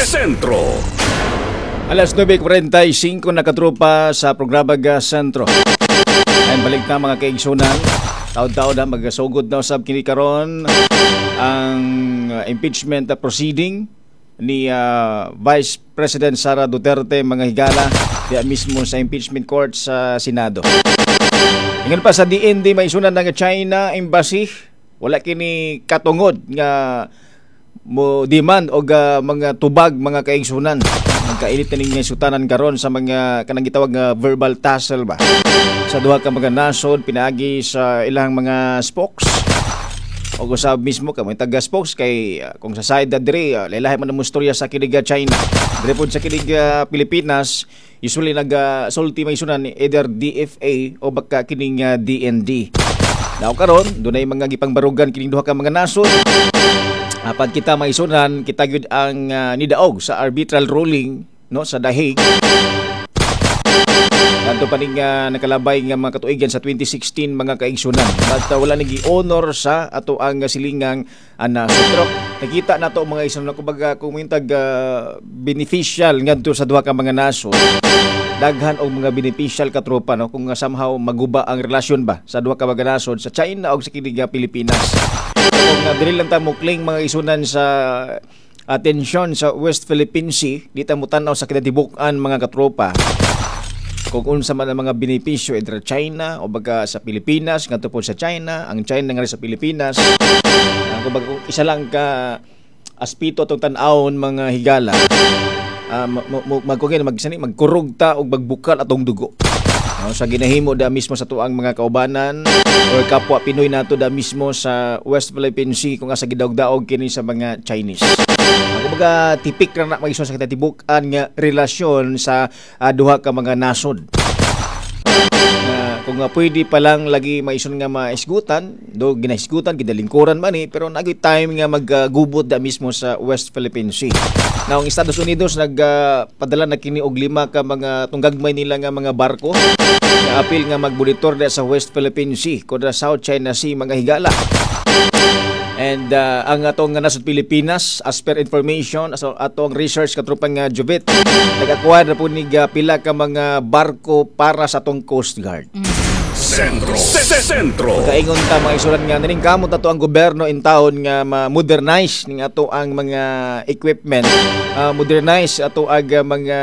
Sentro. Alas 9:45 na, katropa, sa programa ga Sentro. Ay balik na, mga kaigsunan. Taod-taod na magasugod na usab kini karon ang impeachment proceeding ni Vice President Sara Duterte, mga higala, diya mismo sa impeachment court sa Senado. Ingon pa sa DND, may sunan nga China Embassy wala kini katungod nga mo demand og mga tubag, mga kaigsunan. Nagkainit na ning sutanan karon sa mga kanang gitawag nga verbal tussle ba sa duha ka mga nasod pinaagi sa ilang mga spokes o usab mismo ka mga taga spokes kay kung sa side na diri lahi man ang istorya sa kiniga China, diri pod sa kiniga Pilipinas, usually nagasulti may sunan either DFA o baka kining DND. Now karon dunay mga gipangbarugan kining duha ka mga nasod. Apan kita maisunan, kita gyud ang nidaog sa arbitral ruling, no, sa The Hague. Kadto pa ning nakalabay nga mga katuigan sa 2016, mga kaigsunan. But wala nagi honor sa ato ang silingang nasod. Pero nakita nato, mga igsunan, kumbaga kung mintag beneficial ngadto sa duha ka mga nasod, daghan og mga beneficial, katropa, no, kung somehow maguba ang relasyon ba sa duha ka mga nasod, sa China og sa kinig Pilipinas. Kung dili lang ta mukling, mga isunan, sa atensyon sa West Philippine Sea, di ta mo tan-aw sa kinatibuk-an, mga katropa, kung unsa man ang mga benepisyo either China o baga sa Pilipinas ngadto po sa China, ang China nga rin sa Pilipinas. Kumbaga kung isa lang ka aspito atong tan-awon, mga higala, magsani magkurog ta og magbukal atong dugo. No, sa ginahimo da mismo sa tuang mga kaubanan or kapwa Pinoy nato da mismo sa West Philippine Sea kung asa gidaog-daog kini sa mga Chinese. Kumbaga tipik ra na mag-isyon sa kinatibuk-an nga relasyon sa duha ka mga nasod. Nga kung nga pwede pa lang lagi maison nga maisgutan do ginaisgutan, gidalingkuran man ni, pero nagoy time nga maggubot da mismo sa West Philippine Sea. Now ang Estados Unidos nagpadala na kini og lima ka mga tunggagmay nila nga mga barko nga apil nga magmonitor da sa West Philippine Sea kontra South China Sea, mga higala. And ang atong nga nasod Pilipinas, as per information, as atong research, katrupang nga Jubit, nag-acquire na po ni pila ka mga barko para sa atong Coast Guard. Sentro. Sentro. Kaingon ta, mga isulan, nga naning kamot ato ang gobyerno in taon nga ma-modernize ning ato ang mga equipment, modernize ato ang mga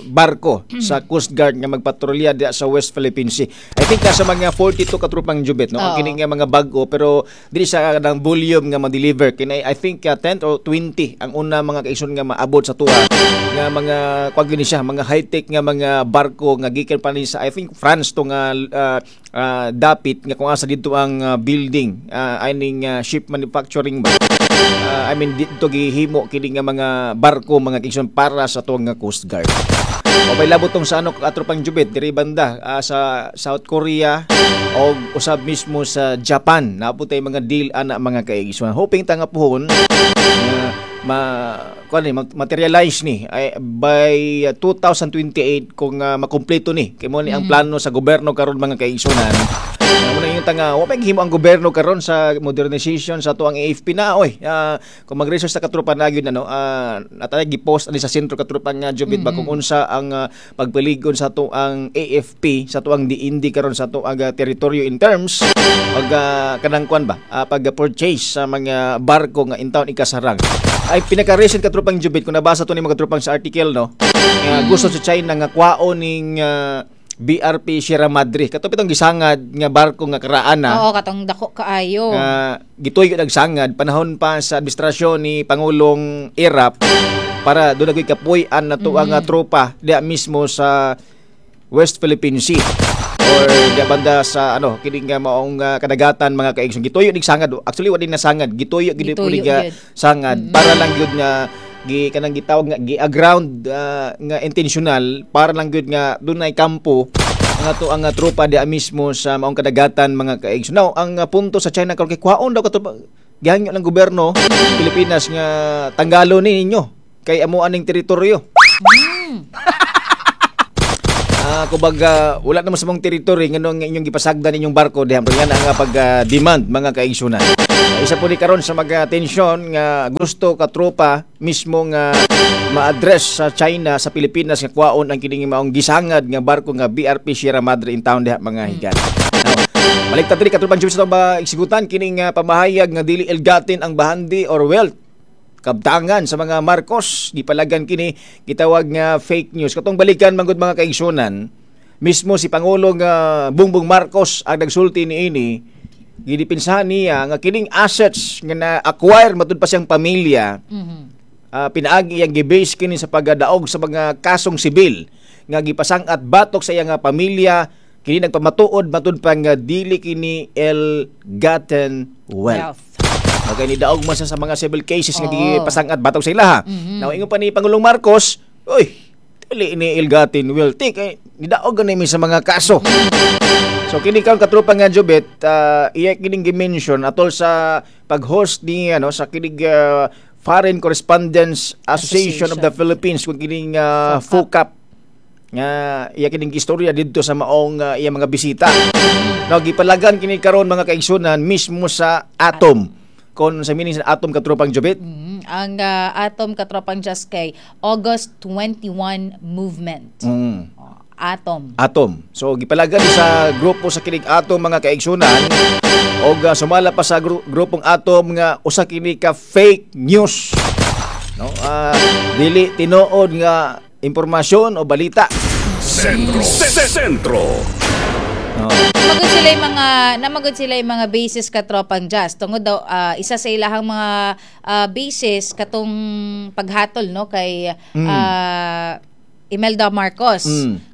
barko sa Coast Guard nga magpatrolya diya sa West Philippine Sea. I think nasa mga 42, katrupang Jubit, no? Ang kini nga mga bag-o, pero dili sa ng volume nga ma-deliver kini. I think 10 or 20 ang una, mga kaison, nga maabot sa tuwa nga mga kuan gini siya, mga high-tech nga mga barko nga gikan pa ni sa, I think, France to nga dapit nga kung asa dito ang building aning ship manufacturing ba. I mean, dito gihimo kini nga mga barko, mga kaigsoon, para sa tuwang nga Coast Guard. O may labot tong sa ano, katropang Jubit, diri banda sa South Korea o usab mismo sa Japan. Naapot tay mga deal ana, mga kaigsoon. Hoping ta nga puhon nga ma kuan ni materialize ni ay, by 2028 kung makumpleto ni kay mo ni ang plano sa gobyerno karon, mga kaigsunan. Muna yung tanga, wa may gihimo ang gobyerno karon sa modernization sa tuang AFP na oy. Kung mag-research sa katropa na gyud ano, natay gi-post ani sa sentro, katropa nga Jubit ba, kung unsa ang pagpaligon sa tuang AFP, sa tuang DND karon sa tuang teritoryo in terms pag kanang kuan ba, pag purchase sa mga barko nga in town ikasarang. Ay pinaka-recent, katropang Jubit, kung nabasa to ni mga katropang sa article, no, nga gusto sa China nga kwaon ning BRP Sierra Madre. Kato pitong gisangad nga barko nga karaan na. Oo, katong dako kaayo. Nga gituyo nagsangad panahon pa sa administrasyon ni Pangulong Erap para doon naging kapuy-an na to ang tropa diya mismo sa West Philippine Sea or diya banda sa ano kini nga maong kadagatan, mga kaigsoon. Gituyo nig sangad. Actually, wa din nasangad, gituyo gid po Gituyo ni nga gyud. Sangad para lang gyud nga gi kanang gitawag nga gi-aground nga intentional para lang gyud nga dunay kampo ang ato ang tropa diya mismo sa maong kadagatan, mga kaigsoon. Now, ang punto sa China karon kay kwaon daw kato, gihangyo ng gobyerno Pilipinas nga tanggalo ni ninyo kay amo aning teritoryo. Kumbaga wala naman sa mong territory, nganong inyong gipasagdan inyong barko diha? Nga na ang pag demand, mga kaigsunan. Isa po ni karon sa mga tensyon nga gusto katropa mismo nga ma-address sa China sa Pilipinas nga kwaon ang kining maong gisangad nga barko nga BRP Sierra Madre in town diha, mga higala. Now, balik ta diri, katropang Jubes, ba isigutan kining pamahayag nga dili ill-gotten ang bahandi or wealth, kabtangan sa mga Marcos, gipalagan kini, gitawag nga fake news. Katong balikan manggod, mga kaigsunan, mismo si Pangulong Bongbong Marcos ang nagsulti niini. Gidipinsahan niya nga kining assets nga na-acquire matud pa siyang pamilya, pinaagi iyang gibase kini sa pagadaog sa mga kasong sibil nga gipasang-at batok sa iyang nga pamilya. Kini nagpamatuod matud pa nga dili kini ill-gotten wealth. Wealth. Okay, ni daog man siya sa mga civil cases nga gipasang-at batok sa ilaha. Now, ingon pa ni Pangulong Marcos, "Uy, dili ni ill-gotten wealth kay nidaog gani mi sa mga kaso." So kini karon, katropa nga Jubet, iya kining gi-mention atol sa pag-host ni ano sa kinig Foreign Correspondents Association of the Philippines, kung kining FOCAP, nga iya kining istorya didto sa maong iya mga bisita. Now, gipalagan kini karon, mga kaigsunan, mismo sa Atom. Kon sa meaning sa Atom, katropang Jubet? Ang Atom, katropang Just, kay August 21 Movement. Oh, Atom. Atom. So gipalagan sa grupo sa kinig Atom, mga kaigsunan, og sumala pa sa grupong Atom nga usa kini ka fake news. No, dili tinuod nga impormasyon o balita. Sentro. Sentro. No. Namagod sila yung mga basis, katropang Jazz, tungod daw isa sa ilahang mga basis katong paghatol, no, kay Imelda Marcos.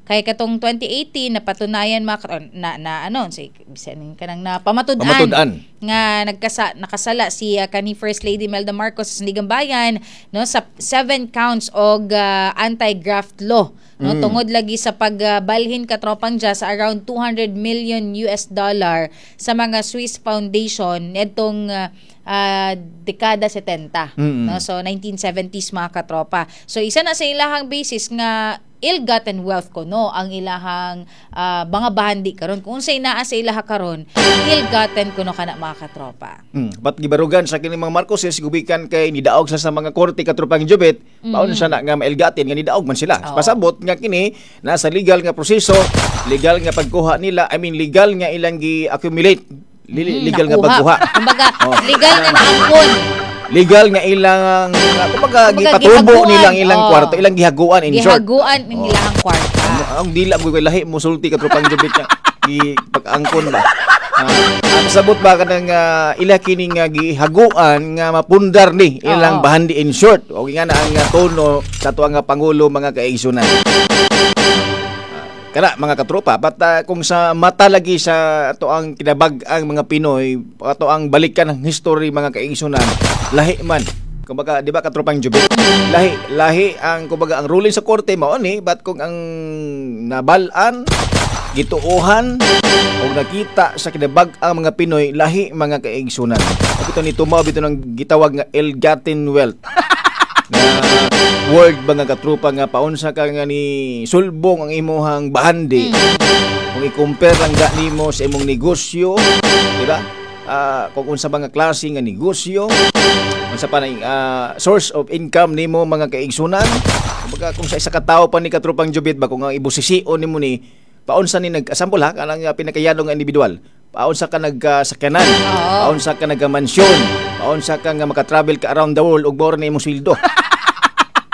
Kay katong 2018 napatunayan mga na, na ano say bisan kanang na pamatud-an Pamatud-an. nga nakasala si kani First Lady Imelda Marcos sa Sandiganbayan, no, sa seven counts og anti-graft law, no, tungod lagi sa pagbalhin, katropang Jazz, sa around US$200 million sa mga Swiss foundation nitong dekada 70, no, so 1970s, mga katropa. So isa na sa ilahang basis nga ill-gotten wealth ko, no, ang ilahang mga bahandi karon, kung unsay naa sa ilaha karon, ill-gotten kuno kana, mga katropa. But gibarugan sa kini mga Marcoses gubikan kay nidaog sa mga korte, katropang Jubet, paon siya na nga ma-ill-gotten nga nidaog man sila? Pasabot nga kini nasa legal nga proseso, legal nga pagkuha nila, I mean, legal nga ilang gi-accumulate, legal nga Nakuha. pagkuha. Kumbaga, legal nga naangkon. Legal nga ilang kumbaga Kumbaga, gipatubo gihaguan. nilang ilang kwarto, ilang gihaguan in short. Gihaguan ng ilahang kwarta. Ang dila ko kay lahi mo sulti, katropang Jubet, nga gi pag-angkon ba. Ang sabot ba kanang ila kini nga gihaguan nga mapundar ni ilang bahandi in short. O nga na ang tono sa tuang nga pangulo, mga kaigsunan. Kana mga katropa, but kung sa mata lagi sa ato ang kinabag-ang mga Pinoy, ato ang balikan ng history, mga kaigsunan, lahi man. Kumbaga, di ba, katropang Jubit? Lahi, lahi ang kumbaga ang ruling sa korte mao ni, but kung ang nabal-an, gituohan o nakita sa kinabag-ang mga Pinoy, lahi, mga kaigsunan. Ug ito ni tumaw bito ng gitawag nga ill-gotten wealth na word, mga katropa, nga paunsa ka nga ni sulbong ang imuhang bahandi kung i-compare lang ga nimo sa imong negosyo, di ba? Kung unsa ba nga klase nga negosyo, unsa pa na source of income nimo, mga kaigsunan. Kumbaga kung sa isa ka tawo pa ni, katropang Jubit ba, kung ang ibusisi-on nimo ni paunsa ni nag sample ha, kanang pinakayano nga individual, paunsa ka nagkasakyanan, paunsa ka nagamansyon, paunsa ka nga makatravel ka around the world ug bora na imong sweldo.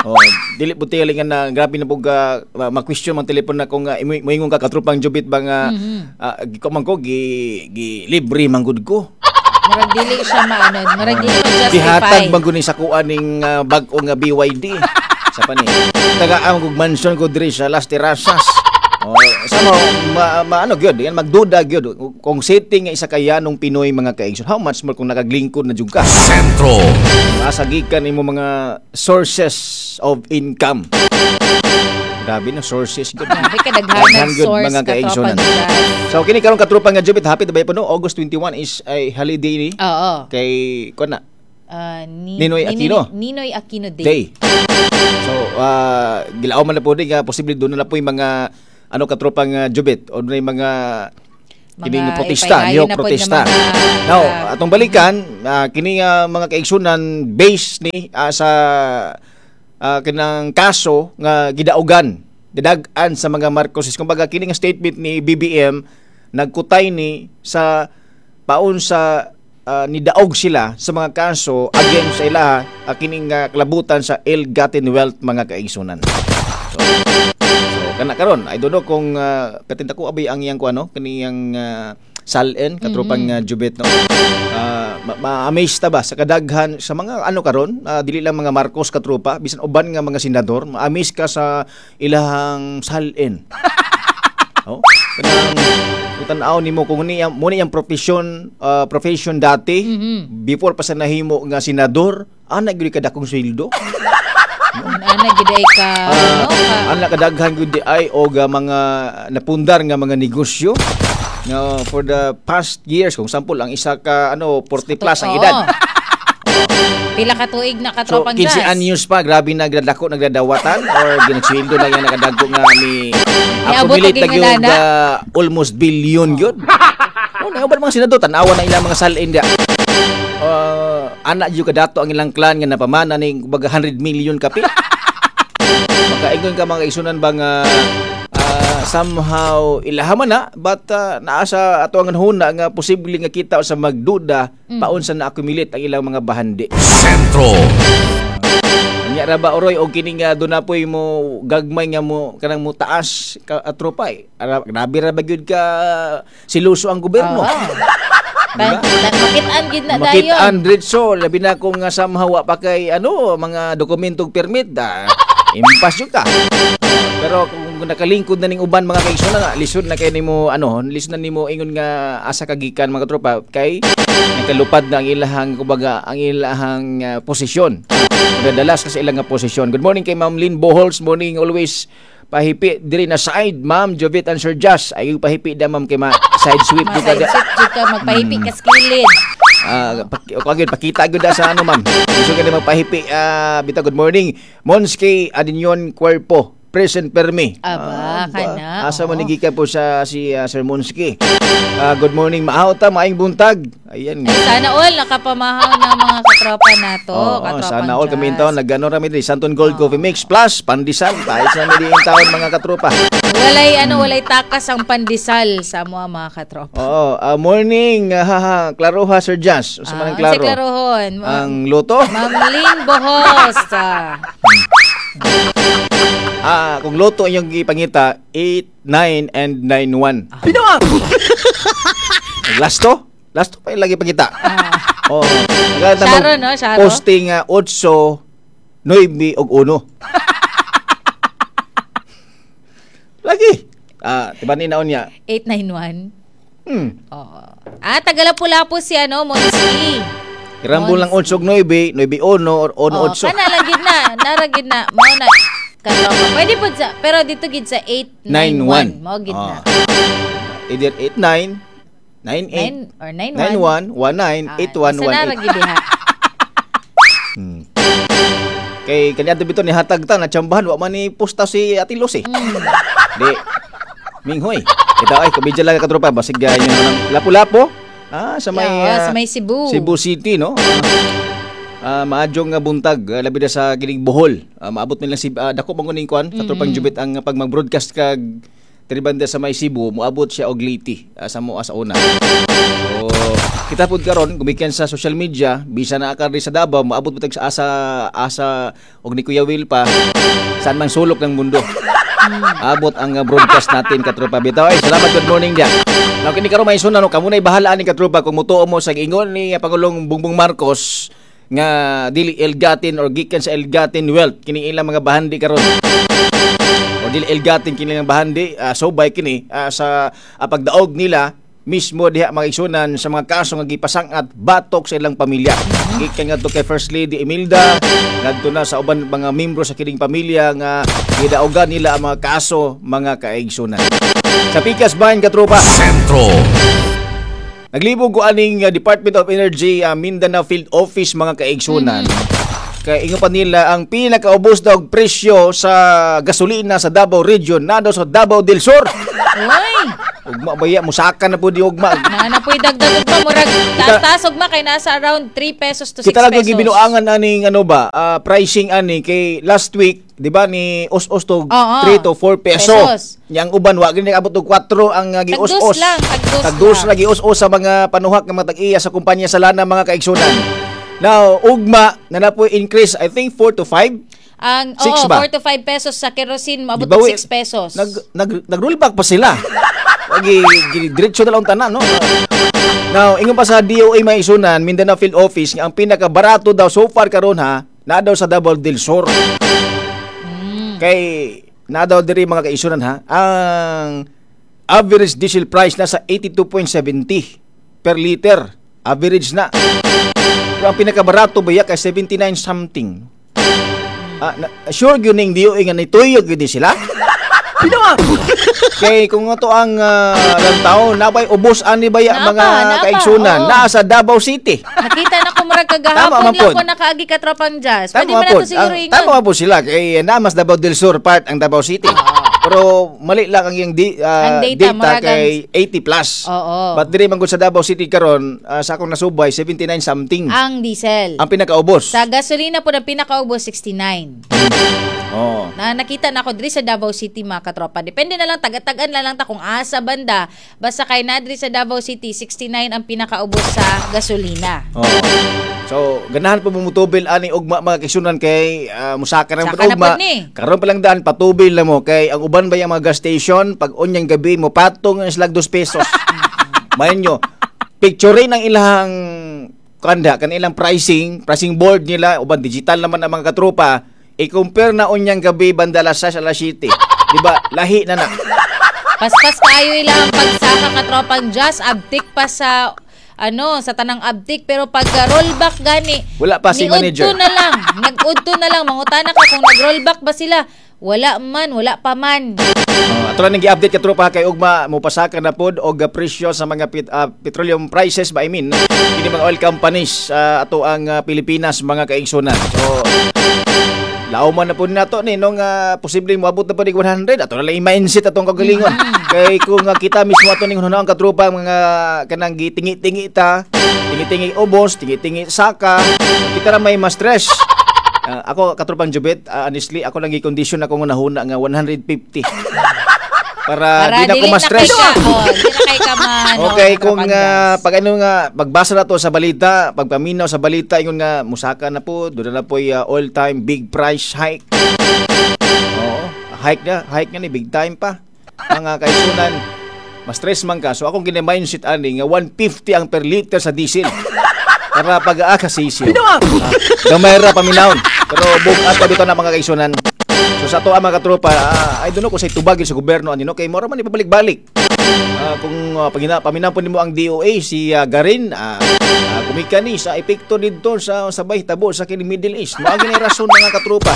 Oh, dili po tingali nga na grabe na po ga ma-question man telepon na kung moingon ka, katropang Jubit ba, nga ko man ko gi, gi libre man gud ko. Murag dili siya maano, murag dili ma-justify. Gihatag man gud ni sa kuan ning bag-o nga BYD. Sa pa ni. Taga ang kog mansion ko diri sa Las Terrazas. Oh, sa mo ma, ma ano gyud, yan magduda gyud kung setting nga isa ka yanong Pinoy, mga kaigsoon. How much more kung nakaglingkod na jud ka? Sentro. Masagikan nimo mga sources of income. Grabe na sources gyud. Grabe ka Daghan daghan gyud, source, mga kaigsunan. katropang Jazz. So kini karon, katropa nga Jubit, happy ba po, no? August 21 is ay holiday ni kay kuan na Ninoy Aquino. Ninoy Aquino Day. Day. So, gilaw man na po din nga posible doon na po yung mga ano, katropang Jubit, o dunay mga Mga kining protesta, ipailayo nihok na pod nga protesta. mga, Now, atong balikan, kini nga mga kaigsunan, base ni sa kinang kaso nga gidaugan, gidag-an sa mga Marcoses. Kumbaga kini nga statement ni BBM nagkutay ni sa paon sa nidaog sila sa mga kaso against sa ilaha, kining kalabutan sa ill-gotten wealth, mga kaigsunan. So kana karon, I don't know kung katinta ko abi ang iyang kuano kaniyang SALN, katropang Jubet, no. Ma-amaze ta ba sa kadaghan sa mga ano karon, dili lang mga Marcos, katropa, bisan uban nga mga senador, ma-amaze ka sa ilahang SALN. Oh, kanang kung tan-aw nimo kung niya mo niyang profession dati before pa sa nahimo nga senador, ana gyud kadakong sweldo. Ana gid ay ka no ka Ana kadaghan gyud di ay og mga napundar nga mga negosyo nga for the past years, kung sample ang isa ka ano, 40 plus ang edad. Pila ka tuig na, So katropang 15 Jazz? anyos pa, grabe na gradako nagdadawatan or ginagsweldo na yan nakadagko nga ni Niabot accumulate og na gyud ingana. Almost billion gyud. Oh, na uban mga senador, tan-awa na ilang mga SALN dia. Ana gyud kadato ang ilang clan nga napamana ning kumbaga 100 million kapil. Makaingon ka, mga isunan ba, nga somehow ilahaman na, but naa sa ato ang huna nga posible nga kita sa magduda paunsa na accumulate ang ilang mga bahandi. Sentro. Nya ra ba oroy og kini nga doon na poy mo gagmay nga mo kanang mo taas ka tropa eh. Ara, grabe ra ba gyud ka siluso ang gobyerno. Oo. Makitaan gid na dayon. Makitaan diretso, labi na kung nga somehow wa pa kay ano mga dokumentong permit da, impas jud ka. Pero kung nakalingkod na ning uban, mga kaigsoon nga lisod na kay nimo ano, lisod na nimo ingon nga asa ka gikan, mga tropa, kay nakalupad na ang ilahang kumbaga ang ilahang posisyon. Nadalas ka sa ilang nga posisyon. Good morning kay Ma'am Lynn Bohols. Morning, always pahipi diri na side, Ma'am Jovit and Sir Jas. Ay pahipi da, ma'am, kay ma side sweep jud ka Ma-side da. sweep jud ka, magpahipi ka sa kilid. O gyud pakita gyud da sa ano, ma'am. Gusto ka na magpahipi bitaw. Good morning. Monski Adinyon Cuerpo. Present permi. Aba, kana, Asa man oo. ni gikan po sa si Sir Monski. Good morning, maaw ta, maayong buntag. Ayan. Ay, sana all nakapamahaw ng mga katropa nato. Oo, Katropang sana all kami Jazz. taon nagano rami diri Santon Gold Coffee Mix Plus pandesal. Tayo sa nami din taon, mga katropa. Walay ano, walay takas ang pandesal sa mga katropa. Oo, morning, haha, klaro ha, Sir Jazz. Usa man ang Ah, klaro. unsay klarohon? Ang luto? Ma'am Lynn Bohos. Kung luto inyong gipangita, 8, 9, and 9, 1. Pinawa! Last to? Last to pa yung lagi pangita. Oo. Sharo, no? Sharo? Posting 8, 9, ug 1. Lagi. Diba ni naon niya? 891. Oo. Tagalapu-lapu si ano, Monski. Irambol lang 8 ug 9, 9 1 or 1 Oh, 8. kana lang gid na, nara gid na. Mao na katropa. Pwede pud sa, pero dito gid sa 891. 9-1. Mao gid na. Either 8 9, 9 8, 9 or 91. 9 1, 1 9, 8 1, Sa nara 1 8. gid diha. Kay kaniadto bitaw ni hatag ta na tsambahan wa man ni posta si Ate Luz eh. Di. Minghoy. Ito ay kabidya lang, katropa, basig yun naman Lapu-Lapu. Sa may Yeah, sa may Cebu. Cebu City, no? Maadyong nga buntag, labi na sa kining Bohol. Maabot man lang si dako man kuning kuan, katropang Jubit, ang pag mag-broadcast kag diri banda sa may Cebu, moabot siya og Leyte sa moa sa una. So, kita pud karon gumikan sa social media, bisa na ka sa Davao, moabot pud sa asa asa og ni Kuya Will pa saan mang sulok ng mundo. Abot ang broadcast natin, katropa bitaw. Ay, salamat, good morning diya. Now kini karon may suna no, kamo nay bahala ni katropa kung mutuo mo sa giingon ni Pangulong Bongbong Marcos nga dili ill-gotten or gikan sa ill-gotten wealth kini ilang mga bahandi karon o dili ill-gotten kini ilang bahandi, subay kini sa pagdaog nila mismo diha, mga igsunan, sa mga kaso nga gipasang-at batok sa ilang pamilya. Gikan ngadto kay First Lady Imelda ngadto na sa uban mga membro sa kining pamilya nga gidaogan nila ang mga kaso, mga kaigsunan. Sa Pikas Bayan, katropa. Sentro. Naglibog ko aning Department of Energy Mindanao Field Office, mga kaigsunan. Kay ingon pa nila ang pinakaubos daw og presyo sa gasolina sa Davao Region na daw sa Davao del Sur. Uy, Ugma baya, musaka na po di ugma. Na na po'y dagdag ugma, murag taas-taas ugma kay nasa around 3 pesos to 6 Kita lang pesos. gibinuangan aning ano ba, pricing ani kay last week, di ba, ni os-os to Oo. 3 to 4 peso. Pesos. Yang uban wa gini abot og 4 ang gi-os-os. Tag-dos lang, tag-dos Tag-dos lang. lang gi-os-os sa mga panuhak ng mga tag-iya sa kumpanya sa lana, mga kaigsunan. Now, ugma na na po increase, I think 4 to 5. Ang Six oo, ba? 4 to 5 pesos sa kerosene, maabot Di ba, og we- 6 pesos. Nag nag nag-rollback pa sila. Wagi diretso na lang tanan, no. Now, ingon pa sa DOA may isunan, Mindanao Field Office, nga ang pinakabarato daw so far karon ha, na daw sa Davao del Sur. Kay na daw diri, mga kaisunan ha, ang average diesel price nasa 82.70 per liter. Average na. Pero ang pinakabarato ba kay 79 something. Ah, sure gyud ning DOA nga nituyog gyud ni sila. Kay kung ato ang lantaw, nabay ubos ani baya Naa mga pa, naa pa, kaigsunan oo. naa sa Davao City. Nakita na ko murag Tama kagahapon man lang pod. ko nakaagi, katropang Jazz. Pwede Tama man po. nato siguro ingon. Tama man po sila kay na mas Davao del Sur part ang Davao City. Pero mali lang ang iyang Ang data, data, murag kay 80 plus. But diri man gud sa Davao City karon, sa akong nasubay, 79 something Ang diesel. ang pinakaubos. Sa gasolina po na pinakaubos, 69. Na nakita na ako diri sa Davao City, mga katropa. Depende na lang, taga-tagan na lang ta kung asa banda. Basta kay na diri sa Davao City, 69 ang pinakaubos sa gasolina. Oo. So, ganahan po mumutubil ani ugma, mga kaigsunan, kay musaka na Saka na ugma. pod ni. Karon pa lang daan patubil na mo kay ang uban ba yung mga gas station pag unyang gabi mo patong ang slag 2 pesos. Mayon nyo. Picture ang ilang kanda kan ilang pricing, pricing board nila, uban digital naman ang mga katropa. I-compare na unyang gabi banda alas 6, alas 7. Di ba? Lahi na na. Paspas kaayo ilang pagsaka, katropang Jazz, abtik pa sa ano, sa tanang abtik, pero pag rollback gani Wala pa si niudto manager. na lang, nag-udto na lang. Mangutana ka kung nag-rollback ba sila, wala man, wala pa man. Ato lang gi-update, katropa, kay ugma mo pasaka na pod og presyo sa mga petroleum prices ba, I mean kini mga oil companies sa ato ang Pilipinas, mga kaigsunan. So lauman na po nato ni nung posibleng moabot na po ni 100, ato na lang i-mindset atong kagalingon. Kay kung kita mismo ato ning hunahuna ang katropa, mga kanang gitingi-tingi ta, tingi-tingi ubos, tingi-tingi saka, kita ra may ma-stress. Ako, katropang Jubet, honestly, ako lang gi-condition ako nga nahuna nga 150 para Para di na ko dili na ma-stress. kay ka, oh, di na kay ka man, Okay, oh, kung katropang Jazz. pag ano nga pagbasa na to sa balita, pagpaminaw sa balita ingon nga musaka na po, doon na po all-time big price hike. Oo, hike na ni big time pa. Mga kaisunan, ma-stress man ka. So akong gina-mindset ani nga 150 ang per liter sa diesel. Para pag kasisiw. Gamay ra paminawon. Pero bugat pa dito na, mga kaisunan. So sa ato ang mga katropa, I don't know kung say tubagin sa gobyerno ani no kay mora man ipabalik-balik. Kung paminaw po nimo ang DOA si Garin, kumikan ni sa epekto didto sa sabay tabo sa kini Middle East. Mao gini rason, mga katropa.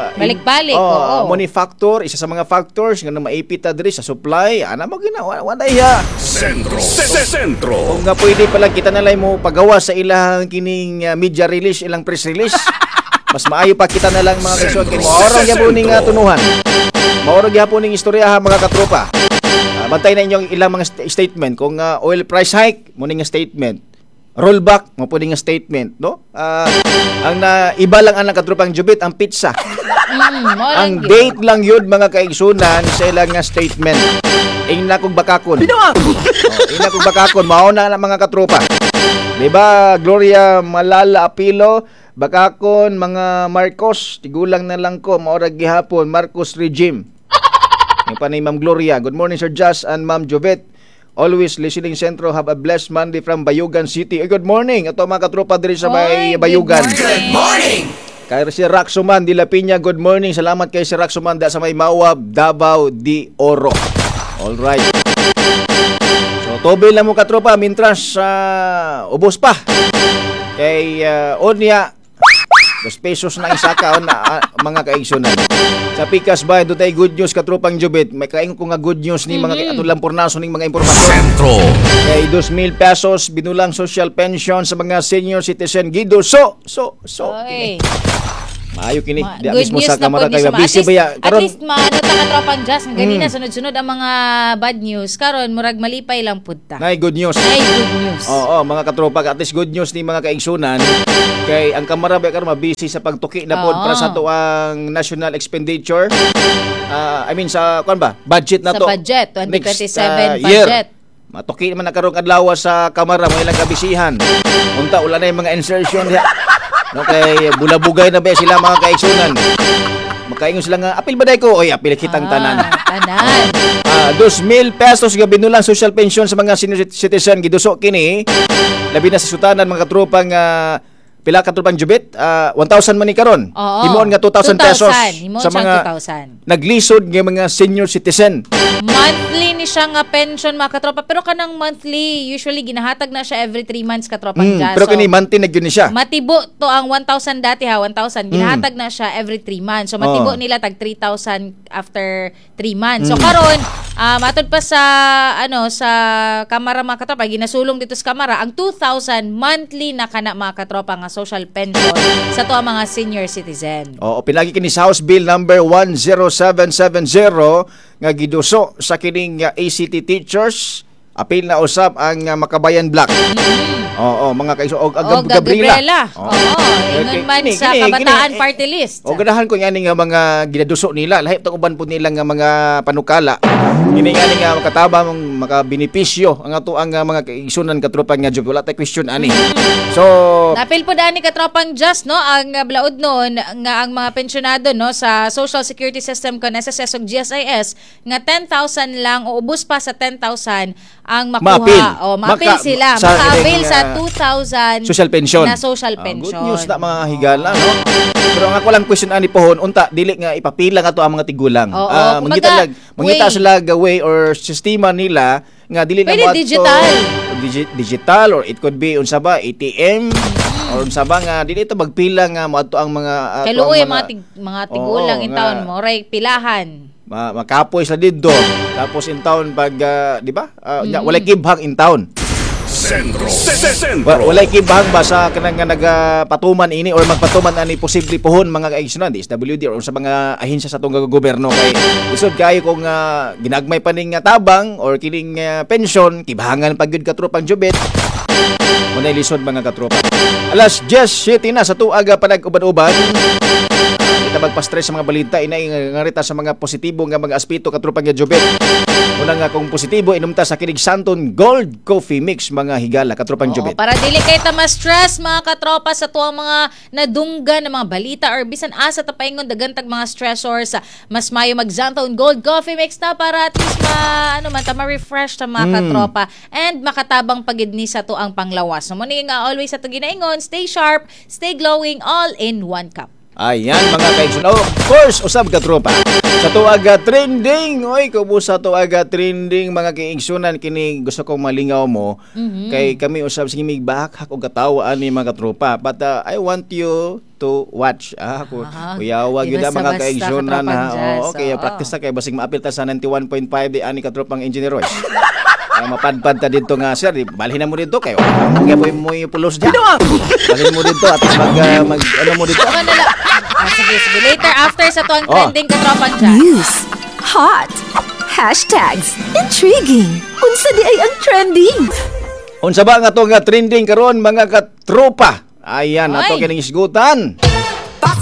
Balik-balik, oh, oo. Money factor, isa sa mga factors nga maipit ta diri sa supply. Ana mo gina wa wa ya. Sentro. Sentro. Kung nga pwede pala kita na lang mo pagawa sa ilang kining media release, ilang press release. Mas maayo pa kita na lang, mga kaigsoon, kay maorong gyapon ning tunuhan. Maorong gyapon ning istorya ha, mga katropa. Bantay na inyong ilang mga statement kung oil price hike mo ning statement. Rollback mo po ning statement, no? Ang na iba lang ang katropang Jubit ang pizza. Mo lang Ang gyud. date lang yun, mga kaigsunan, sa ilang nga statement. Ingna kong bakakon. Oh, ingna kong bakakon, mao na na, mga katropa. Di ba, Gloria Malala Apilo, bakakon mga Marcos, tigulang na lang ko, maorag gihapon, Marcos regime. Yung pa ni Ma'am Gloria. Good morning, Sir Jas and Ma'am Jovet. Always listening, Sentro. Have a blessed Monday from Bayugan City. Eh, good morning. Ito mga katropa diri sa may Oy, good Bayugan. morning. Kay si Raxuman de la Piña, good morning. Salamat kay si Raxuman da sa may Mawab, Davao de Oro. All right. So, tubil na mo, katropa, mintras sa ubos pa. Kay Onya, ₱2 na isa ka na, mga kaigsunan. Sa Pikas ba, doon tayo good news, katropang Jubit. May kaingon ko nga good news ni mga atong lampurnaso ning mga impormasyon. Sentro. Kay 2,000 pesos binulang social pension sa mga senior citizen gido so so so kini. Oy. Maayo kini di Good mismo news sa na kamara po ni kay sa mga- busy at least, ba ya at karon. least maano ta, katropang Jazz, nga ganina sunod-sunod ang mga bad news, karon murag malipay lang pud ta. Nay good news. Ay, good news. Oo, mga katropa, at least good news ni mga kaigsunan kay ang kamara ba karon mabisi sa pagtuki na pod para sa atoang national expenditure. I mean, sa kuan ba? Budget na Sa to. budget, 2027 Next, year. budget. Matuki naman na karong adlaw sa kamara mo ilang kabisihan. Unta wala na yung mga insertion diha. No, kay bulabugay na ba sila, mga kaigsunan. Makaingon sila nga apil ba day ko? Oy, apil kitang tanan. Tanan. ₱2,000 nga binulang social pension sa mga senior citizen giduso kini labi na sa sutanan, mga katropang, pila ka, tropang Jubit? 1,000 man ni karon. Himuon nga ₱2,000 2,000. Himuon sa siyang mga 2,000. naglisod nga mga senior citizen. Monthly ni siya nga pension, mga katropa. Pero kanang monthly, usually ginahatag na siya every 3 months, katropang Jazz. Pero So, kini monthly na gyud ni siya. Matibo to ang 1,000 dati ha, 1,000. Ginahatag na siya every 3 months. So matibo nila tag 3,000 after 3 months. So karon, matod pa sa ano sa kamara, mga katropa, ginasulong dito sa kamara ang 2,000 monthly na kana, mga katropa, nga social pension sa to ang mga senior citizen. Oo, pinagi kini sa House Bill number 10770 nga giduso sa kining ACT teachers. Apil na usab ang Makabayan Bloc. Oo, mga kaiso og O Gabriela. Gabriela. Oo, ingon man sa Kabataan Party List. O ganahan ko ngani nga mga ginaduso nila, lahi tong uban po nila nga mga panukala. Kini ngani nga makatabang, makabenepisyo ang ato ang mga kaigsunan, katropa nga job. Wala tay question ani. So, Napil po dani, katropang Just, no, ang blaod noon nga ang mga pensyonado, no, sa Social Security System kon SSS ug GSIS nga 10,000 lang o ubos pa sa 10,000 ang makuha. Maapil. O maapil sila, sa maka-avail ining, sa 2,000 social pension. na social pension. Good news na, mga higala, no? Pero ang ako lang question ani pohon, unta dili nga ipapila nga to ang mga tigulang. Kumbaga, Mangita lag, mangita way. sila ga way or sistema nila nga dili na Pwede mo ato- digital. Digital or it could be unsa ba, ATM or unsa ba nga dili ito magpila nga moadto ang mga ato Kay ang luoy mga tigulang Oo, in taon mo, ray pilahan. Makapoy sila didto. Tapos in town pag di ba? Nya, walay kibhang in town. Sentro. Sentro. Walay kibhang ba sa kanang nga nagapatuman ini or magpatuman ani posible pohon, mga kaigsunan, DSWD or sa mga ahensya sa atong gobyerno, kay lisod kayo kung ginagmay pa ning tabang or kining pension, kibhangan pag gyud, katropang Jubet. Munay lisod, mga katropa. Alas 10:07 na sa tuaga panag-uban-uban. Kita magpa-stress sa mga balita, inay nga rita sa mga positibo nga mga aspeto, katropang nga Jubet. Una nga kung positibo, inumta sa kinig Santon Gold Coffee Mix, mga higala, katropang Oo, Jubet. para dili kay ta ma-stress, mga katropa, sa tuwang mga nadungga ng mga balita or bisan asa ta paingon daghan tag mga stressors, mas mayo mag Xanthone Gold Coffee Mix na para at least ma ano man ta, ma-refresh ta, mga katropa, and makatabang pagid ni sa tuang panglawas. So mo ni nga always sa to ginaingon, stay sharp, stay glowing, all in one cup. Ayan, mga kaigsoon. Oh, of course, usab, katropa. Sa tuaga trending, oy, kubo sa tuaga trending, mga kaigsunan, kini gusto kong malingaw mo. Kay kami usab sige mig bakhak og katawa ani, mga katropa. But I want you to watch. Ah, ko kuyawa Di gyud ang mga basta-basta, kaigsunan ha. katropang Jazz, Oo, kaya practice na kay basig maapil ta sa 91.5 di ani, katropang Engineer Royce. Mapadpad ta dito nga sir, di, balhin na mo dito kayo. Kaya po mo yung pulos diyan. Balhin mo dito at mag ano mo dito. Ako na lang. Sige, sige. Later, after sa tuwang trending, katropang Jazz. News. Hot. Hashtags. Intriguing. Unsa di ay ang trending? Unsa ba nga to nga trending karon, mga katropa? Ayan, ato Oy. kining isgutan.